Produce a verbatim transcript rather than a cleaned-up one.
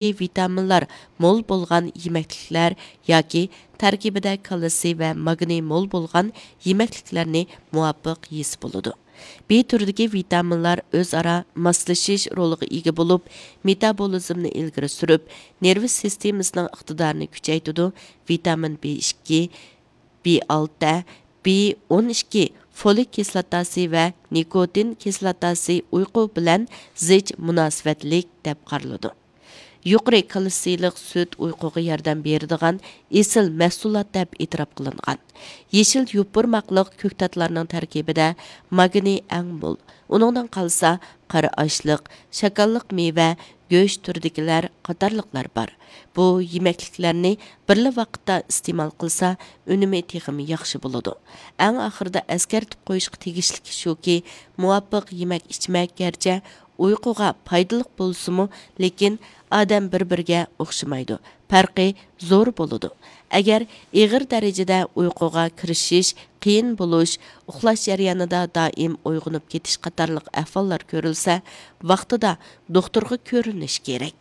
ۋىتامىنلار مول بولغان يېمەكلىكلەر ياكى تەركىبىدە كالتسىي ۋە ماگنىي مول بولغان يېمەكلىكلەرنى مۇۋاپىق يېسە بولىدۇ. بى تۈرىدىكى ۋىتامىنلار ئۆزئارا ماسلىشىش رولىغا ئىگە بولۇپ، مېتابولىزمنى ئىلگىرى سۈرۈپ، نېرۋا سىستېمىسىنىڭ ئىقتىدارىنى كۈچەيتىدۇ. ۋىتامىن بى ئىككى، بى ئالتە، بى ئون ئىككى، فولىك كىسلاتاسى ۋە نىكوتىن كىسلاتاسى ئۇيقۇ بىلەن زىچ مۇناسىۋەتلىك دەپ قارىلىدۇ. يۇقىرى كالتسىيلىق سۈت ئۇيقۇغا ياردەم بېرىدىغان ئېسىل مەھسۇلات دەپ ئېتىراپ قىلىنغان. يېشىل يوپۇرماقلىق كۆكتاتلارنىڭ تەركىبىدە ماگنىي ئەڭ مول. ئۇنىڭدىن قالسا قارا ئاشلىق، شاكاللىق مېۋە، گۆش تۈرىدىكىلەر قاتارلىقلار بار. بۇ يېمەكلىكلەرنى بىرلا ۋاقىتتا ئىستېمال قىلسا، ئۈنۈمى تېخىمۇ ياخشى بولىدۇ. ئەڭ ئاخىرىدا ئەسكەرتىپ قويۇشقا تېگىشلىكى شۇكى، مۇۋاپىق يېمەك ئىچمەك گەرچە ئۇيقۇغا پايدىلىق بولسىمۇ، لېكىن ئادەم بىر-بىرىگە ئوخشىمايدۇ، پەرقى زور بولىدۇ. ئەگەر ئېغىر دەرىجىدە ئۇيقۇغا كىرىشىش قىيىن بولۇش، ئۇخلاش جەريانىدا دائىم ئويغىنىپ كېتىش قاتارلىق ئەھۋاللار كۆرۈلسە، ۋاقتىدا دوختۇرغا كۆرۈنۈش كېرەك.